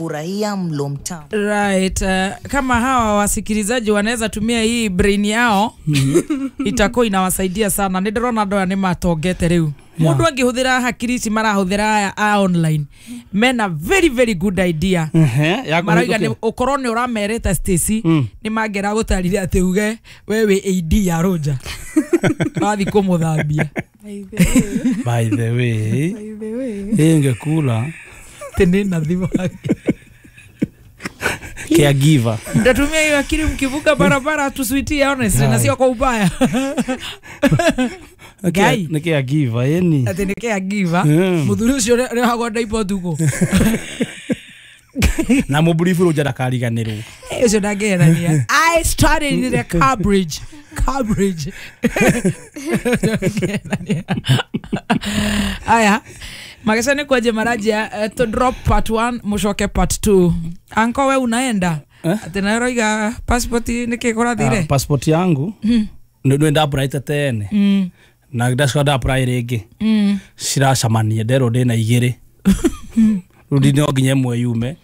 Furahia mlo mtamu. Right. Kama hawa wasikilizaji wanaweza tumia hii brain yao, itakuwa inawasaidia sana. Nĩ ndĩrona andũ aya nĩ matongete rĩu. Mũndũ angĩhũthĩra hakiri ici marahũthĩra aya a online, mena very very good idea. Marauga nĩ ũkorwo nĩ ũramerĩte Stacy, nĩ mangĩra gũtarire atĩ uge we wĩ AD ya Roger. Wathi kũmũthambia. By the way, ingekula tene na thimũ yake. Caregiver. Mtatumia hiyo akili mkivuka barabara tusuitie honestly na sio kwa ubaya. Ngai. Nĩ caregiver yani. Ati nĩ caregiver. Muthuri ucio rehagwo ndaipo tuko. Na mũburibu Roger ndakariganĩrwo. Ũcio ndangĩherania. I started in the Cambridge. Cambridge. Aya. Magesha ni kwaje marajia to drop part 1 mushoke part 2. Anko we unaenda? Ati na roiga passport niki kurathire? Passport yangu nĩ nda apply tene. Na ndacoka nda apply rĩngĩ. Ciracamania nderwo ndĩna igĩrĩ. Rĩu no nginya ĩmwe yume.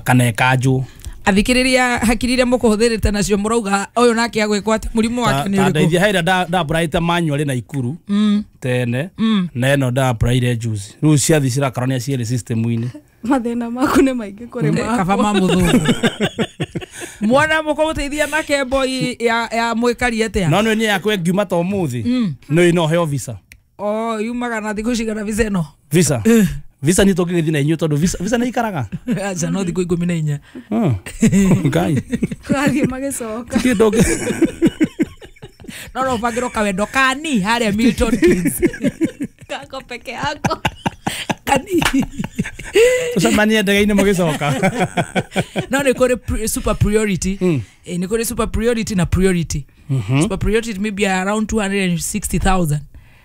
Kana ĩkanjwo. Athikĩrĩria hakiri iria mũkũhũthĩrĩte nacio mũrauga ũyũ nake agwĩkwo atĩ mũrimũ wake nĩ ũrĩkũ? Ndeithia haira nda applyte manually na Ikuru tene na ĩno nda applyire juzi. Rĩu ciathi cirakarania cierĩ system-inĩ. Mathĩna maku nĩ maingĩ kũrĩ makwa. Kaba ma mũthũngũ. Mwana mũkũmũteithia na kembo ya mwĩkari atĩa? No nĩ yakwa ĩngiuma ta ũmũthĩ. Nĩ no heo visa. Oh, yumaga na thikũ cigana visa ĩno? Visa. Visa ni tũngĩgĩthiĩ na inyuĩ tondũ visa nĩ ikaraga. Aca no thikũ 14. Ngai. Tũrathiĩ magĩcoka. No no bangĩrwo kawendo kani harĩa Milton Keynes. Kako peke yako. Kani. Tũcemanie ndege-inĩ mũgĩcoka. No nĩ kũrĩ super priority. Nĩ kũrĩ super priority na priority. Super priority maybe around 260,000.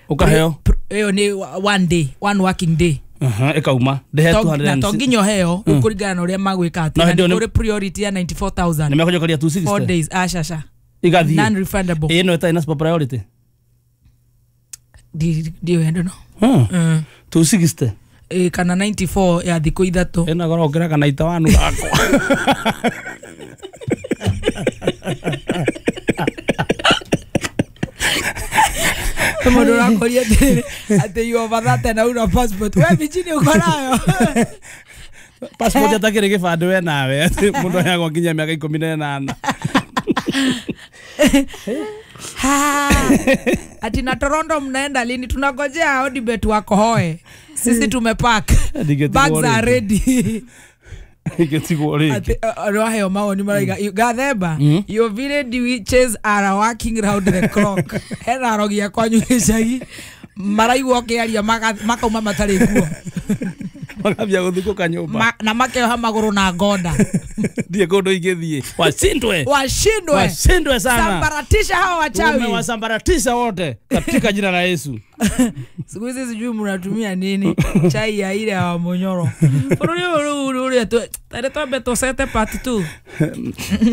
Ũkaheo? Ĩyo nĩ one day, one working day. Ĩkauma ndĩhe 200 na to nginya ũheo ũkũringana na ũrĩa magwĩka atĩ na nĩ kũrĩ priority ya 94,000. Nĩ mekũnjokeria 260 4 days aca igathiĩ non refundable. Ĩno ĩtarĩ na super priority ndiũĩ I don't know. 260 kana 94 ya thikũ ithatũ. Ĩna goro ũngĩra kana ita wanu gakwa. Mũndũ ũrakoria atĩ you over that na una passport. We Virginia uko nayo. Passport atakĩrĩ gĩbandĩ we nawe atĩ mũndũ aheagwo nginya mĩaka 18. Ati na Toronto mnaenda lini? Tunangojea Odibet wakohoe. Sisi tumepack. Bags are ready. Ati roheo mawoni maraiga Gathemba, your village witches are working round the clock. Hena arogia kwanyu gĩcagi maraigua ũkĩaria makauma matarĩ nguo. Makambia gũthikũka nyũmba. Na makeoha magũrũ na ngonda. Ndiĩ kũndũ ingĩthiĩ. Washindwe. Washindwe. Washindwe sana. Sambaratisha hawa wachawi. Umewasambaratisha wote katika jina la Yesu. Siku hizi sijui mnatumia nini. Chai ya ile ya Munyoro. Bũrũri ũyũ rĩu ũrĩa tare twambe tũcete part 2.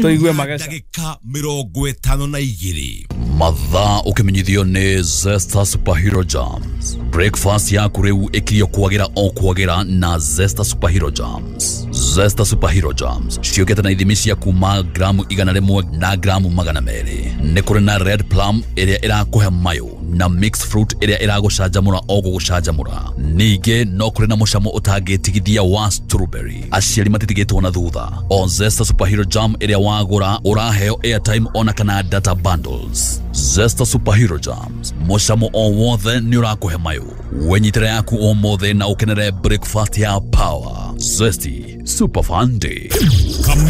Tũigue mageca. Ndagĩka 52. Mathaa ũkĩmenyithio nĩ Zesta Superhero Jams. Breakfast yaku rĩu ĩkirio kwagĩra o kwagĩra na Zesta Superhero Jams. Zesta Superhero Jams ciũkĩte na ithimi cia kuma gramu 100 na gramu 200. Nĩ kũrĩ na red plum ĩrĩa ĩrakũhe mayo na mixed fruit ĩrĩa ĩragũcanjamũra o gũgũcanjamũra. Ningĩ no kũrĩ na mũcamo ũtangĩtigithia wa strawberry. Aciari matitigĩtwo na thutha. O Zesta Superhero Jam ĩrĩa wagũra ũraheo airtime ona kana data bundles. Zesta Superhero Jams, mũcamo o wothe nĩ ũrakũhe mayo. Wenyitĩra yaku ũmũthĩ na ũkenere breakfast ya power. Zesty Super Fun Day.